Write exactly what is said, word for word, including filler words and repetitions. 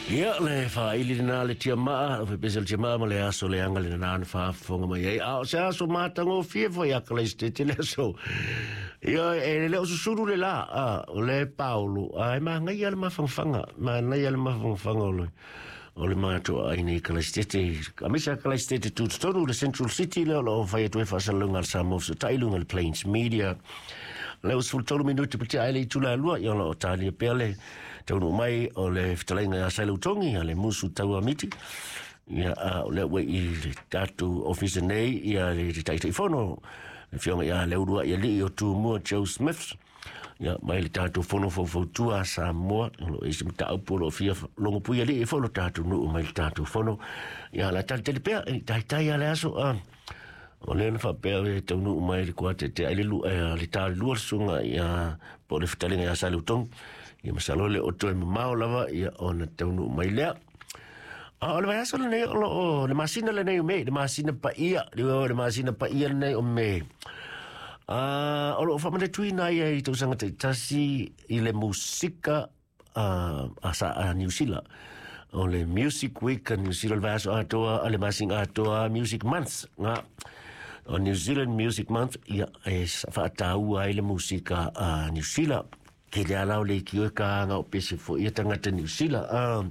Ia le faaili lena le tiamaa, o fepese le tiamaa ma le aso leaga lena na faafofoga mai ai. A o se aso matagofie foi a Kalaisitete le aso. Ia e le o susulu le la, a, o le paolo, a e magaia le mafangafaga, manaia le mafangafaga o le o le matou aiga i Kalaisitete, aemaise a Kalaisitete tutotonu le Central City lea o lo o fai atu ai faasalalauga a le Samoa fesootai i luga o le Plains Media. Lea ua sefulutolu minute pa tea ai le itula e lua, ia o lo o talia pea le taunuu mai o le fetalaiga ia Sailautogi a le musu tauamiti. Ia a o lea ua i le tatou ofisa nei ia le Taitaifono le Afioga ia Leulua'ialii o Tumua Joe Smith, ia mai le tatou fono faufautua a Samoa. O lo o i ai se mataupu o lo o fia logopui alii ai foi lo tatou nuu mai le tatou fono, ia la talitali pea e taitai a le aso a o lea na faapea e taunuu mai le kuatetea ai le lu le ta lua le susuga ia po o le fetalaiga ia Saleutogi. Ia masalo le o toe mamao lava ia ona taunuu mai lea. A o le vaiaso lenei o lo o le masina lenei o Mei, le masina paia, le masina paia lenei o Mei. A o lo o faamanatuina ai i tausaga taitasi i le musika a, a, sa, a Niu Sila. O le Music Week a New Zealand, le vaiaso atoa, a le masina atoa, Music Month, nga. O New Zealand Music Month, ia e faataua ai le musika a Niu Sila. Ke le ala o le ikio e ka anga o pese fo ia tangata Niu Sila. Uh,